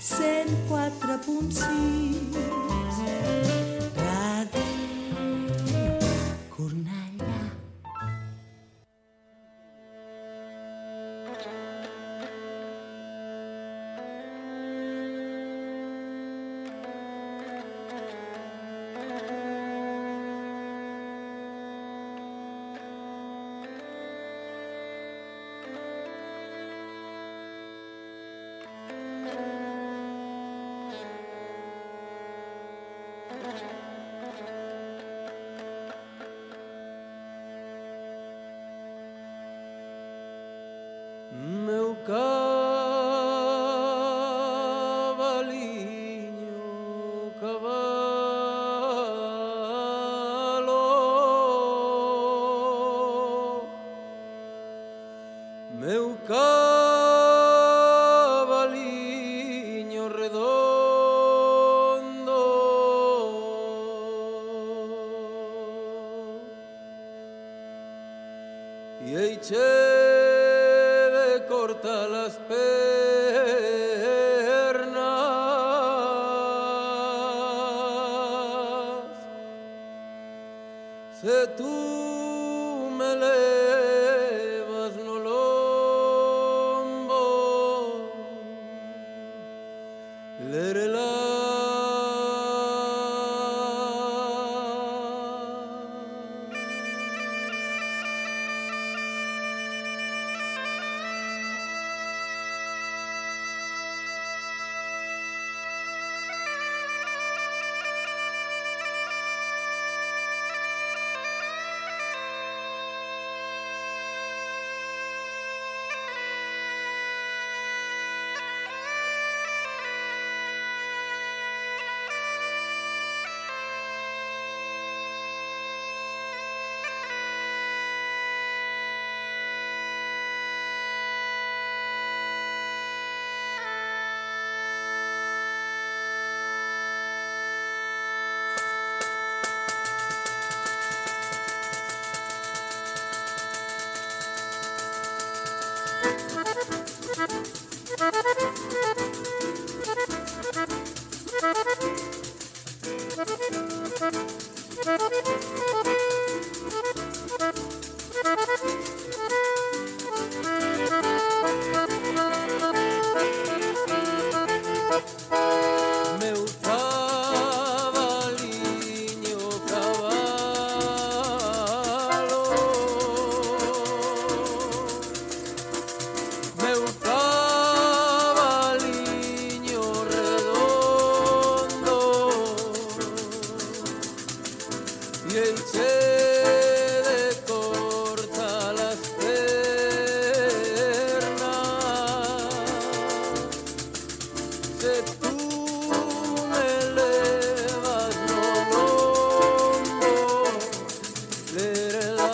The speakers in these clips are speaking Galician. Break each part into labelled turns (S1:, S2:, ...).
S1: 104.6 Ràdio Cornellà.
S2: Meu cavaliño, cavalo, meu cavaliño redondo, e eiche corta las pernas. Se tú me levas no lombo, lerela. Meu cavaliño, cavalo, meu cavaliño redondo, e eiche de corta las pernas. Se tú me levas no lombo, lerela.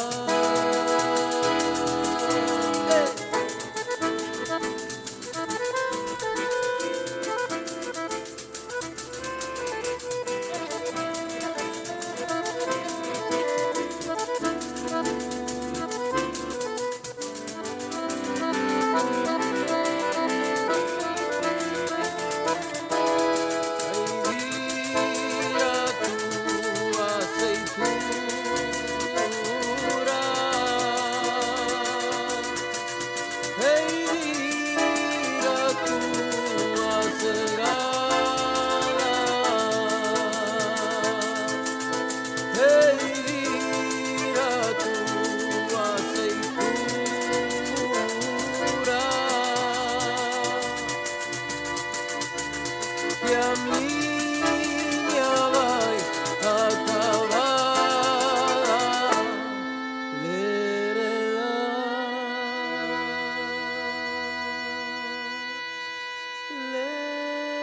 S2: Que a miña vai acabada, lerela, lerela.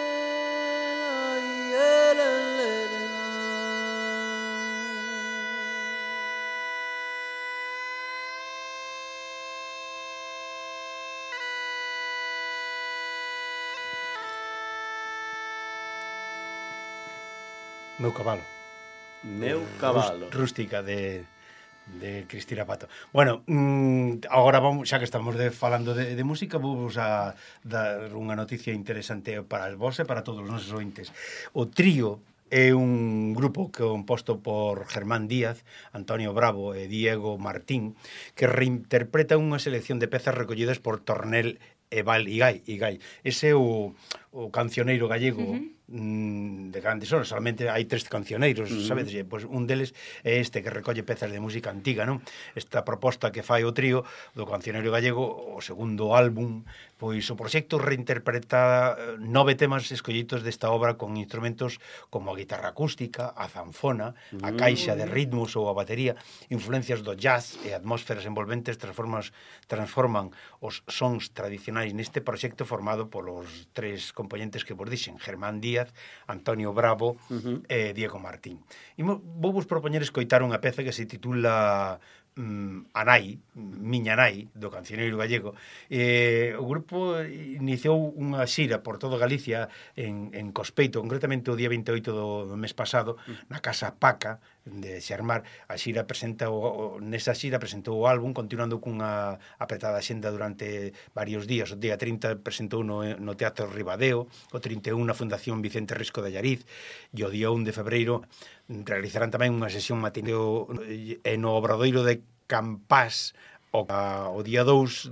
S3: Meu cabalo.
S4: Meu cabalo.
S3: Rústica de
S1: de Cristina Pato. Bueno, agora vamos, xa que estamos falando de música, vamos a dar unha noticia interesante para vos e para todos os nosos ointes. O Trío é un grupo composto por Germán Díaz, Antonio Bravo e Diego Martín, que reinterpreta unha selección de pezas recollidas por Tornel e Val Igai. Ese é o cancioneiro gallego de grandes horas. Solamente hai 3 cancioneiros, sabedes? Pois un deles é este que recolle pezas de música antiga, non? Esta proposta que fai o Trío do cancioneiro gallego, o segundo álbum, pois o proxecto reinterpreta 9 temas escollidos desta obra con instrumentos como a guitarra acústica, a zanfona, a caixa de ritmos ou a batería. Influencias do jazz e atmósferas envolventes transforman os sons tradicionais neste proxecto formado polos 3 componentes que vos dixen, Germán Díaz, Antonio Bravo e Diego Martín. Vou vos propoñer escoitar unha peza que se titula Anai, Miña Nai, do cancioneiro gallego. O grupo iniciou unha xira por todo Galicia en Cospeito, concretamente o día 28 do mes pasado, na Casa Paca de Xermar. A xira nesa xira presentou o álbum, continuando cunha apretada xenda durante varios días. O día 30 presentou no Teatro Ribadeo, o 31 na Fundación Vicente Risco de Allariz, e o día 1 de febreiro realizarán tamén unha sesión matineo no Obradoiro de Campás. O día 2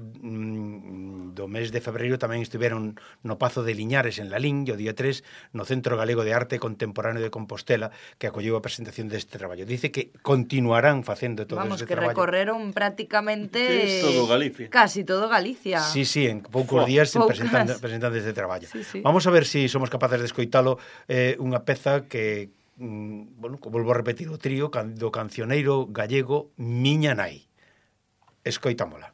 S1: do mes de febreiro tamén estiveron no Pazo de Liñares en Lalín, e o día 3 no Centro Galego de Arte Contemporáneo de Compostela, que acolleu a presentación deste traballo. Dice que continuarán facendo todo este traballo.
S3: Vamos, que recorreron prácticamente
S4: todo Galicia.
S3: Casi todo Galicia.
S1: Sí, en poucos días presentan este traballo.
S3: Sí.
S1: Vamos a ver se somos capaces de escoitalo, unha peza que volvo a repetir, o Trío do cancioneiro gallego Miña Nai. Escoitámola.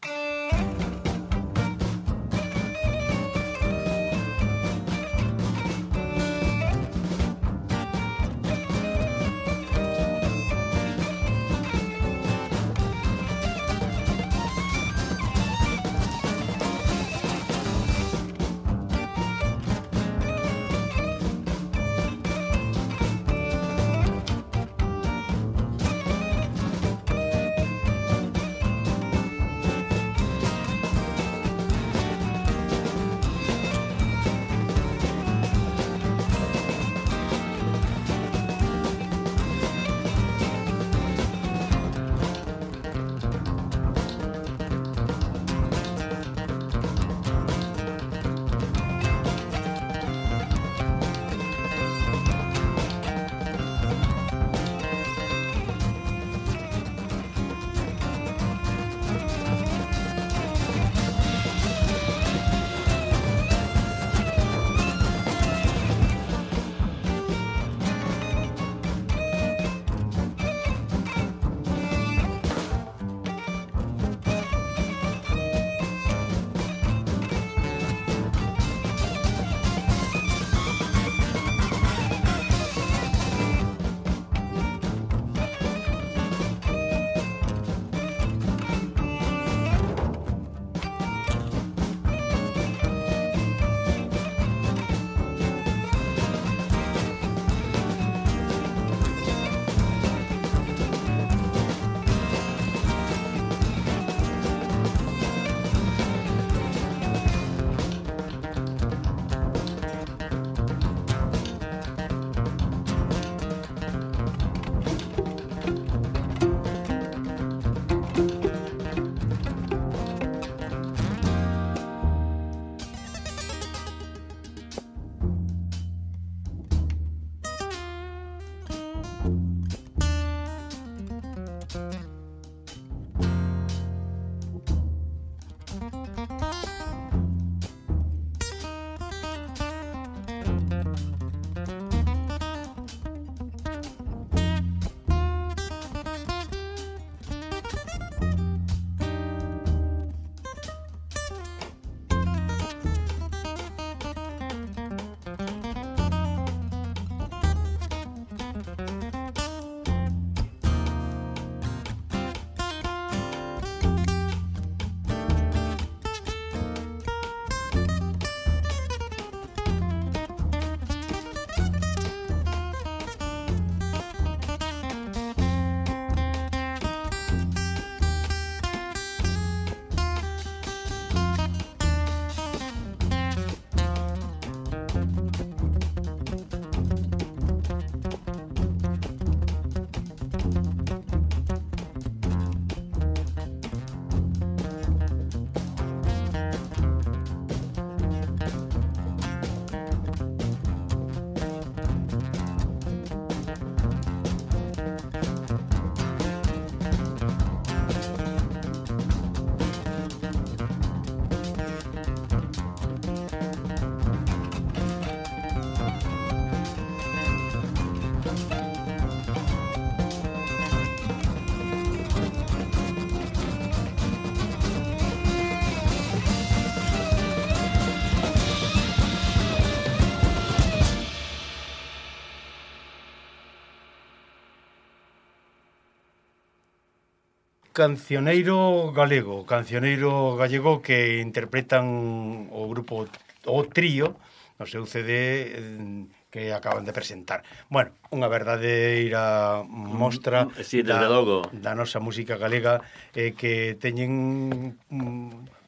S1: cancioneiro gallego que interpretan o grupo O Trío no seu CD que acaban de presentar. Bueno, unha verdadeira mostra
S4: Sí, desde logo.
S1: da nosa música galega que teñen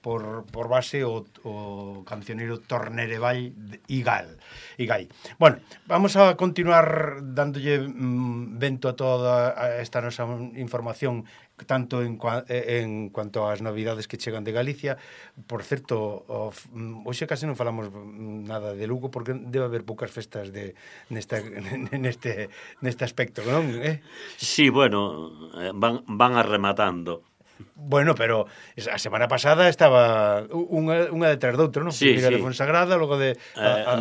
S1: por base o cancioneiro Tornereval Igai. Bueno, vamos a continuar dándolle vento a toda esta nosa información tanto en cuanto ás novidades que chegan de Galicia. Por certo, hoxe case non falamos nada de Lugo porque debe haber poucas festas neste aspecto, non?
S4: Sí, bueno, van arrematando.
S1: Bueno, pero a semana pasada estaba unha detrás de outro, non?
S4: Sí,
S1: Primeiro
S4: sí.
S1: de Fonsagrada, logo de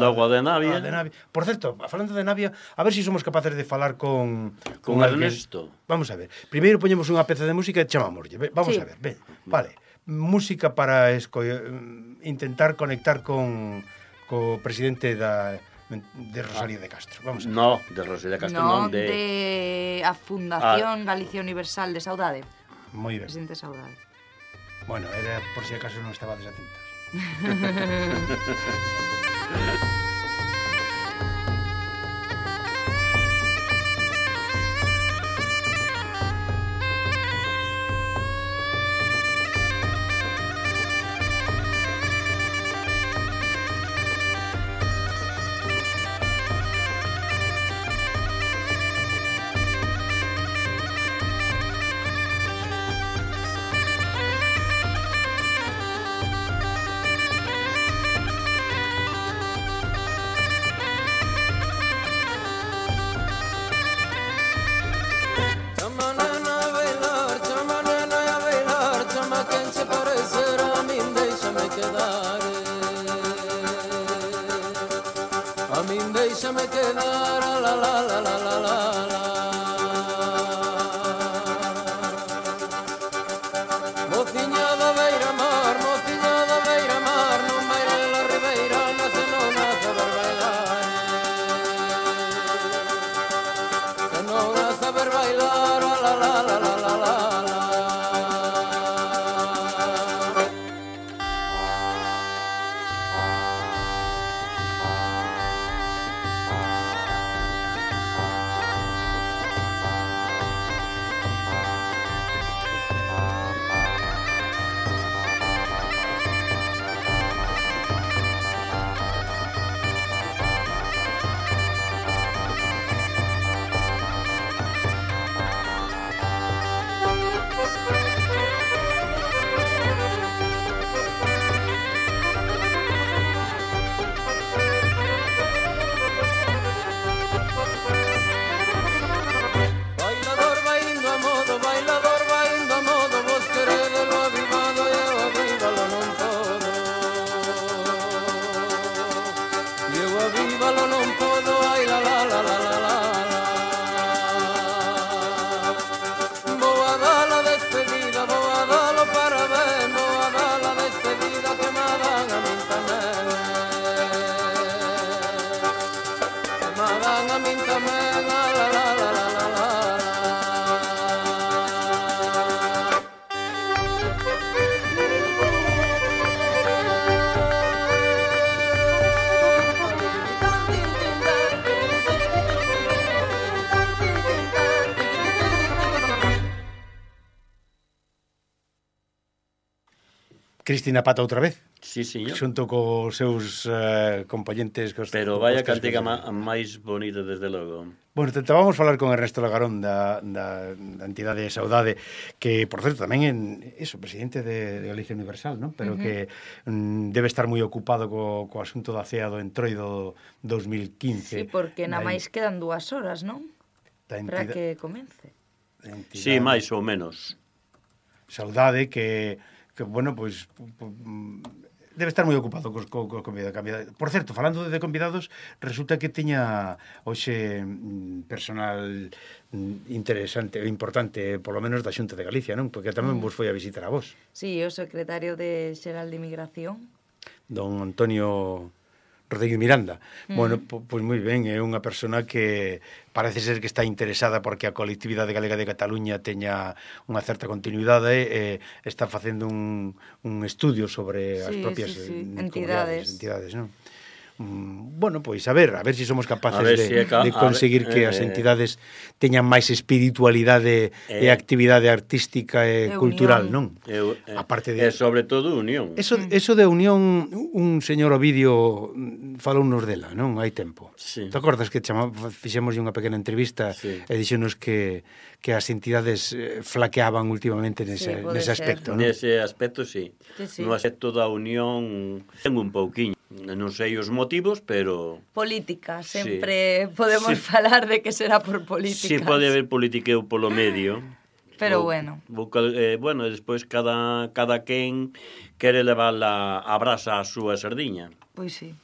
S4: Logo de Navia.
S1: Por certo, falando de Navia, a ver se somos capaces de falar con alguén.
S4: Ernesto.
S1: Vamos a ver. Primeiro poñemos unha peza de música e chamámoslle. Vamos
S3: Sí.
S1: a ver, ven. Vale. Música para intentar conectar co presidente de Rosalía de Castro. Vamos a ver.
S4: No, de Rosalía Castro,
S3: Non
S4: non de...
S3: de a Fundación Galicia Universal de Saudade.
S1: Moi ben.
S3: Presidente Saudade.
S1: Bueno, era por si acaso non estaba desatentos.
S2: Chama nena a bailar, chama quen se parecerá a min, déixame quedar. A min déixame quedar, a la la la la la la la. Mociña da beira-mar, non baila la ribeira, nace non nace a ver bailar. Que non nace a ver bailar, a la la la la la la la. Bailador vai indo a modo, vos queredelo avivado e eu avívalo non podo. E eu avívalo non podo, ai la la la la la la la. Vou a dar a despedida, vou a dar o parabén, vou a dar a despedida que me dan a min tamén. Que me dan a min tamén, a la la la la la la.
S1: Cristina Pata outra vez,
S4: Sí, señor.
S1: xunto cos seus compañentes.
S4: Pero vaya cantiga máis bonita, desde logo.
S1: Bueno, tentábamos falar con Ernesto Lagarón da entidade de Saudade, que, por certo, tamén é presidente de Galicia Universal, non? Pero que debe estar moi ocupado co asunto da CEA do Entroido 2015.
S3: Sí, porque na máis quedan 2 horas, non?
S1: Da
S3: Para
S1: entidade-
S3: que comence.
S1: da entidade
S4: Sí, máis ou menos.
S1: Saudade que bueno, pois debe estar moi ocupado cos convidados. Por certo, falando de convidados, resulta que tiña hoxe personal interesante, importante, polo menos da Xunta de Galicia, non? Porque tamén vos foi a visitar a vos.
S3: Sí, o secretario de Xeral de Inmigración.
S1: Don Antonio Rodríguez Miranda. Bueno, pois moi ben, é unha persona que parece ser que está interesada porque a colectividade galega de Cataluña teña unha certa continuidade e está facendo un estudio sobre as propias entidades, non? Bueno, pois a ver se somos capaces de conseguir que as entidades teñan máis espiritualidade e actividade artística e cultural, non?
S4: Aparte de sobre todo unión.
S1: Eso de unión, un señor Ovidio falounos dela, non? Hai tempo.
S4: Sí.
S1: Te acordas que fixemos unha pequena entrevista e dixenos que as entidades flaqueaban últimamente nese aspecto, non?
S4: Nese aspecto, sí. No aspecto da unión tengo un pouquiño. Non sei os motivos, pero...
S3: Política, sempre podemos falar de que será por políticas.
S4: Sí, pode haber politiqueo polo medio.
S3: Pero bueno.
S4: Bueno, despois cada quen quere levar a brasa a súa sardiña.
S3: Pois sí.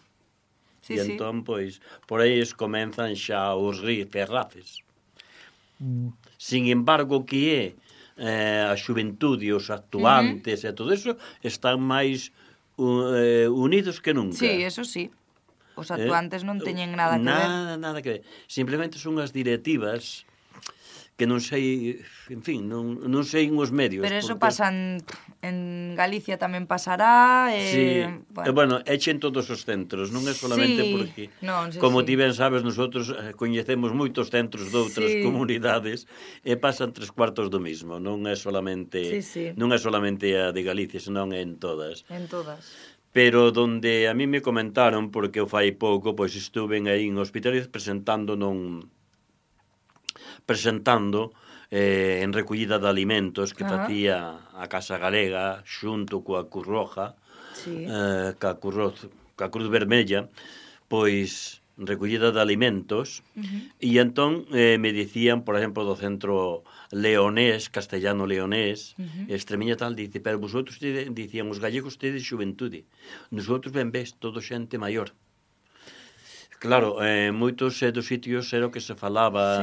S4: E entón, pois, por aí comenzan xa os ferraces. Sin embargo, que a xuventude, os actuantes e todo eso están máis unidos que nunca.
S3: Sí, eso sí. Os actuantes non teñen nada que ver.
S4: Nada que ver. Simplemente son as directivas que non sei, en fin, non sei os medios.
S3: Pero eso pasan en Galicia tamén pasará.
S4: Sí, bueno, echen todos os centros, non é solamente porque, como ti ben sabes, nosotros coñecemos moitos centros de outras comunidades e pasan 3/4 do mismo, non é solamente a de Galicia, senón en todas.
S3: En todas.
S4: Pero donde a mí me comentaron, porque eu fai pouco, pois estuve aí en Hospitales presentando en recollida de alimentos que facía a Casa Galega xunto coa Cruz Roja, coa Cruz Vermella, pois recollida de alimentos, e entón me dicían, por exemplo, do centro leonés, castellano-leonés, Extremeña tal, dice, pero vosotros, dicían os gallegos, tedes xuventude, nosotros ben ves, todo xente maior. Claro, moitos dos sitios era o que se falaba,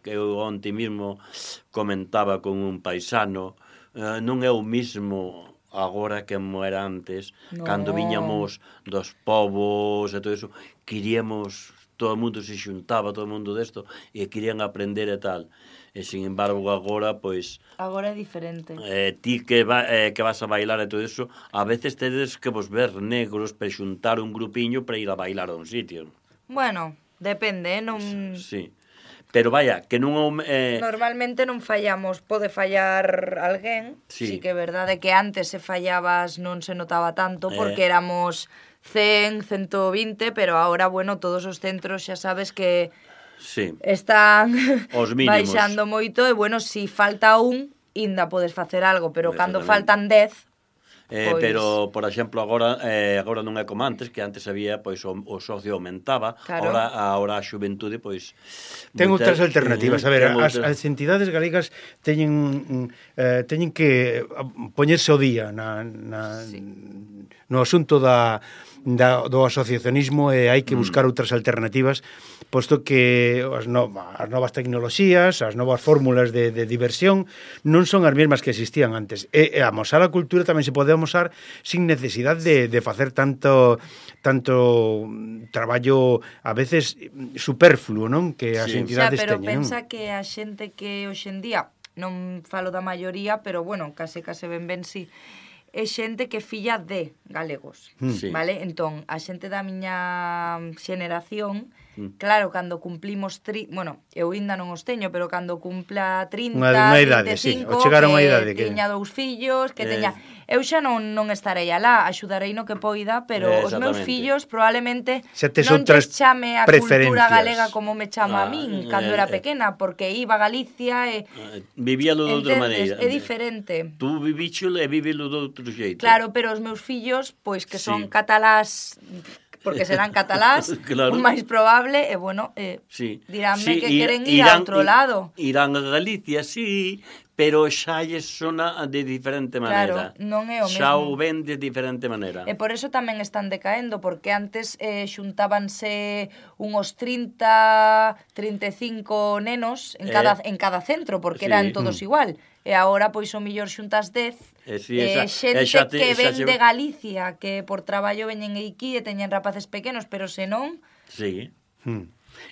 S4: que eu onte mesmo comentaba con un paisano, non é o mismo agora que era antes, cando viñamos dos povos e todo eso, queríamos, todo o mundo se xuntaba, todo o mundo desto, e querían aprender e tal. E, sin embargo, agora, pois...
S3: Agora é diferente.
S4: Ti que vas a bailar e todo eso, a veces tedes que vos ver negros para xuntar un grupiño para ir a bailar a un sitio.
S3: Bueno, depende, non...
S4: Sí. Pero vaya, que non...
S3: Normalmente non fallamos, pode fallar alguén, sí que é verdade que antes se fallabas non se notaba tanto, porque éramos 100, 120, pero ahora, bueno, todos os centros xa sabes que están baixando moito, e, bueno, si falta un, ainda podes facer algo, pero cando faltan 10...
S4: Pero, por exemplo, agora non é como antes, que antes había, pois, o socio aumentaba, agora a xuventude, pois...
S1: Ten outras alternativas. A ver, as entidades galegas teñen que poñerse ao día no asunto do asociacionismo, e hai que buscar outras alternativas, posto que as novas tecnoloxías, as novas fórmulas de diversión non son as mesmas que existían antes. E amosar a cultura tamén se pode amosar sin necesidade de facer tanto traballo a veces superfluo, non? Que as entidades teñen.
S3: Pero pensa que a xente que hoxendía, non falo da maioría, pero bueno, case ben si, é xente que filla de galegos, vale? Entón, a xente da miña xeneración, claro, cando cumplimos... Bueno, eu ainda non os teño, pero cando cumpla 30,
S1: unha idade,
S3: 35,
S1: que
S3: teña 2 fillos, que teña... Eu xa non estarei alá, axudarei no que poida, pero os meus fillos probablemente non lles chame a cultura galega como me chama a min cando era pequena, porque iba a Galicia e...
S4: Vivíalo de outra maneira.
S3: É diferente.
S4: Tú vivíchelo e vívelo de outro xeito.
S3: Claro, pero os meus fillos, pois que son catalás... porque serán catalás, o máis probable, e, bueno, diránme que queren ir a outro lado.
S4: Irán a Galicia, sí, pero xa lles sona de diferente maneira.
S3: Claro, non é o mesmo.
S4: Xa o ven de diferente maneira.
S3: E por eso tamén están decaendo, porque antes xuntábanse unhos 30, 35 nenos en cada centro, porque eran todos igual. e agora pois o millor xuntas 10 xente que ven de Galicia, que por traballo veñen aquí e teñen rapaces pequenos, pero senón...
S4: Sí.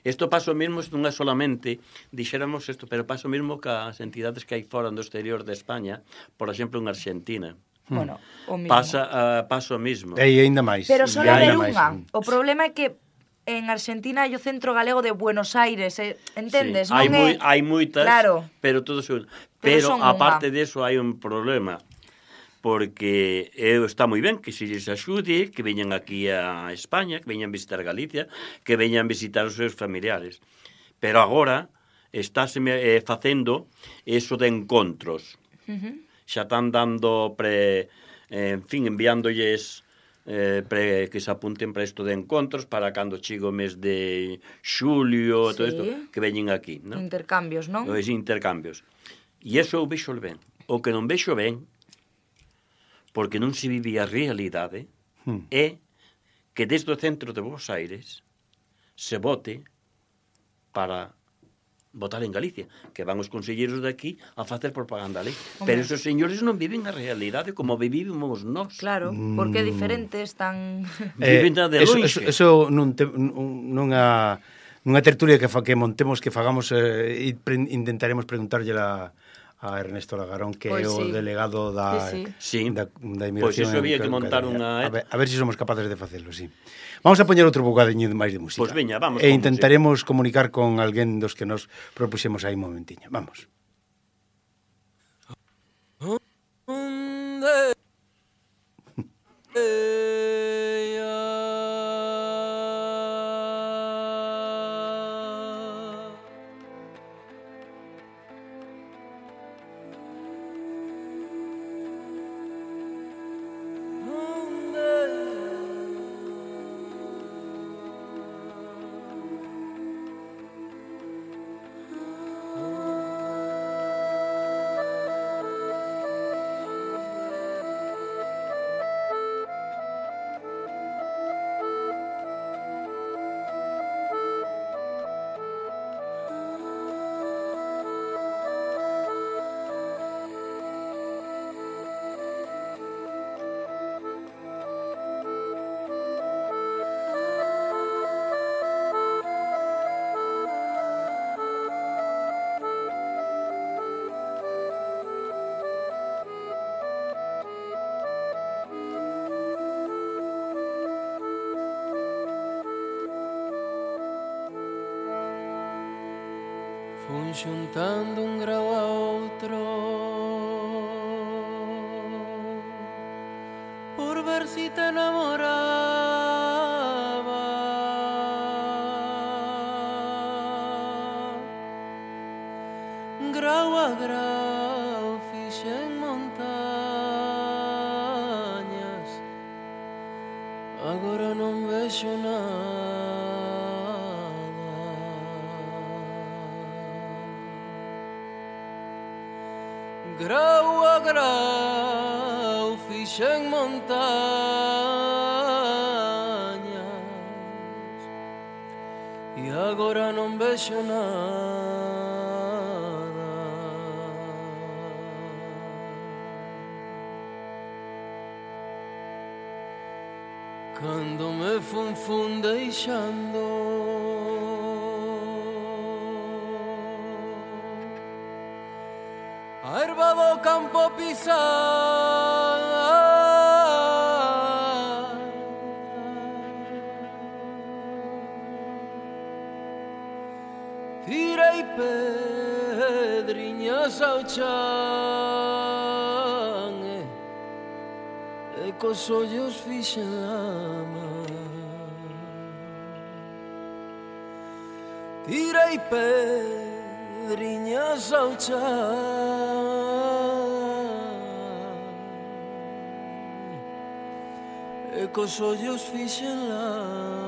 S4: Isto pasa o mesmo, non é solamente, dixéramos isto, pero pasa o mesmo que as entidades que hai fora do exterior de España, por exemplo, en Argentina.
S3: Bueno, o mesmo.
S4: Pasa o mesmo.
S1: E ainda máis.
S3: Pero só haber unha. O problema é que en Argentina hai o Centro Galego de Buenos Aires, entendes?
S4: Sí. Hai moitas,
S3: claro.
S4: pero todos son... Pero aparte deso hai un problema, porque está moi ben que se lles axude, que veñan aquí a España, que veñan visitar Galicia, que veñan visitar os seus familiares. Pero agora estáse facendo eso de encontros. Xa están dando enviándolles que se apunten para isto de encontros para cando chigo o mes de xulio, todo isto, que veñen aquí, non?
S3: Intercambios, non?
S4: Os intercambios. E iso eu vexo ben. O que non vexo ben, porque non se vive a realidade, é que desde o centro de Buenos Aires se vote para votar en Galicia, que van os conselleiros de aquí a facer propaganda ali. Pero esos señores non viven a realidade como vivimos nós.
S3: Claro, porque é diferente, están...
S4: Viven de longe.
S1: Eso nunha tertulia que montemos, que fagamos, intentaremos preguntarlle a Ernesto Lagarón, que é o delegado da inmigración.
S4: Pois iso había que montar unha...
S1: A ver se somos capaces de facelo, sí. Vamos a poñer outro bocadiño máis de música.
S4: Pois veña, vamos.
S1: E intentaremos comunicar con alguén dos que nos propuxemos aí un momentiño. Vamos.
S2: Fun xuntando un grau a outro por ver si te enamoraba. Grau a grau fixen montañas, agora non vexo nada. Grau a grau fixen montañas e agora non vexo nada. Cando me fun deixando, a erva do campo pisar, tirei pedriñas ao chan e cos ollos fixen lama. Tirei pedriñas ao chan e cos ollos fixen lama.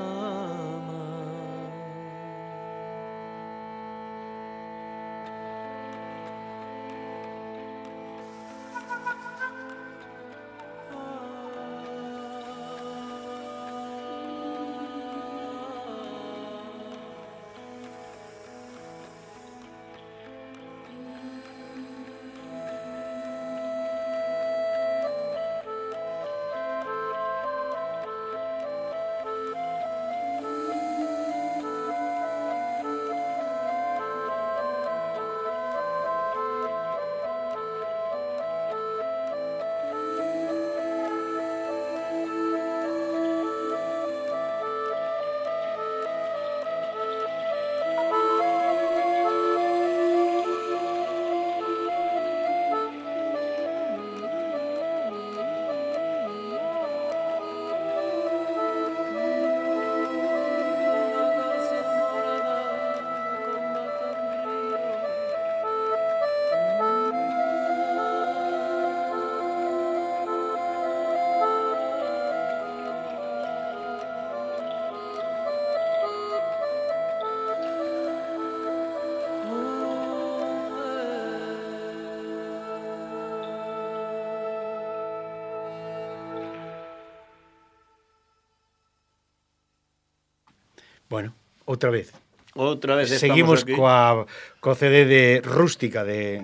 S1: Bueno, outra vez.
S4: Outra vez
S1: Seguimos
S4: aquí.
S1: co CD de Rústica de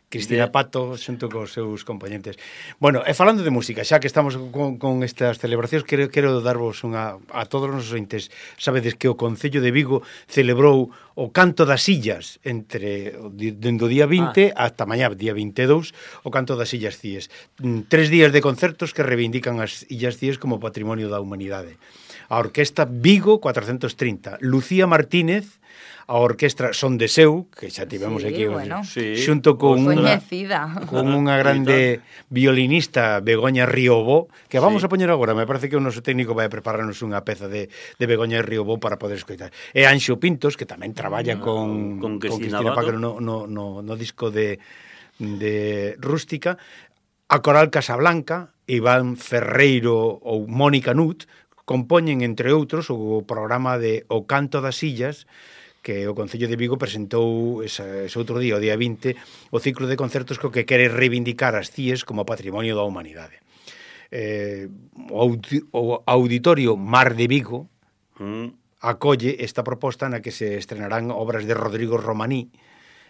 S1: Cristina
S4: De-
S1: Pato xunto cos seus componentes. Bueno, e falando de música, xa que estamos con estas celebracións, quero darvos a todos os nosos ointes. Sabedes que o Concello de Vigo celebrou o Canto das Illas dende o día 20 ata mañá, día 22, o Canto das Illas Cíes. 3 días de concertos que reivindican as Illas Cíes como patrimonio da humanidade. A Orquesta Vigo 430, Lucía Martínez, a Orquestra Son de Seu, que xa tivemos
S3: Sí,
S1: aquí,
S3: bueno.
S4: Sí.
S1: xunto con
S3: Coñecida.
S1: unha grande violinista, Begoña Riobó, que vamos
S4: Sí.
S1: a poñer agora. Me parece que o noso técnico vai a prepararnos unha peza de Begoña Riobó para poder escoitar. E Anxo Pintos, que tamén traballa con
S4: Cristina
S1: Paco
S4: Abado.
S1: no disco de Rústica, a Coral Casablanca, Iván Ferreiro ou Mónica Nut, compoñen, entre outros, o programa de O Canto das Illas, que o Concello de Vigo presentou ese outro día, o día 20, o ciclo de concertos co que quere reivindicar as CIES como patrimonio da humanidade. O Auditorio Mar de Vigo acolle esta proposta na que se estrenarán obras de Rodrigo Romaní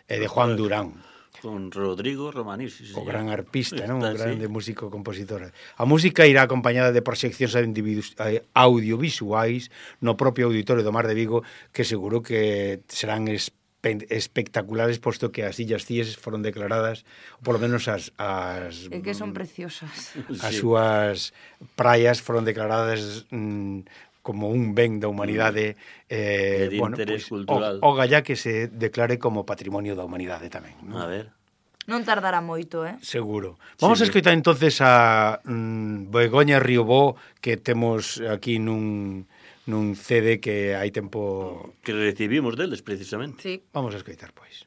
S1: e de Juan Durán,
S4: Con Rodrigo Romaní, sí,
S1: o
S4: señor.
S1: gran arpista, non?
S4: Está,
S1: Un grande
S4: sí.
S1: músico compositor. A música irá acompañada de proxeccións audiovisuais no propio Auditorio do Mar de Vigo, que seguro que serán espectaculares, posto que as Illas Cíes foron declaradas, ou polo menos
S3: É que son preciosas.
S1: as
S4: Sí.
S1: súas praias foron declaradas como un ben da humanidade,
S4: de interés cultural.
S1: o galla que se declare como patrimonio da humanidade tamén, non?
S4: A ver.
S3: Non tardará moito,
S1: Seguro. Vamos a
S4: Sí,
S1: escoitar entonces a Begoña Riobó, que temos aquí nun CD que hai tempo...
S4: Que recibimos deles, precisamente.
S3: Sí.
S1: Vamos a escoitar, pois.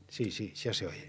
S1: Sí, xa se oye.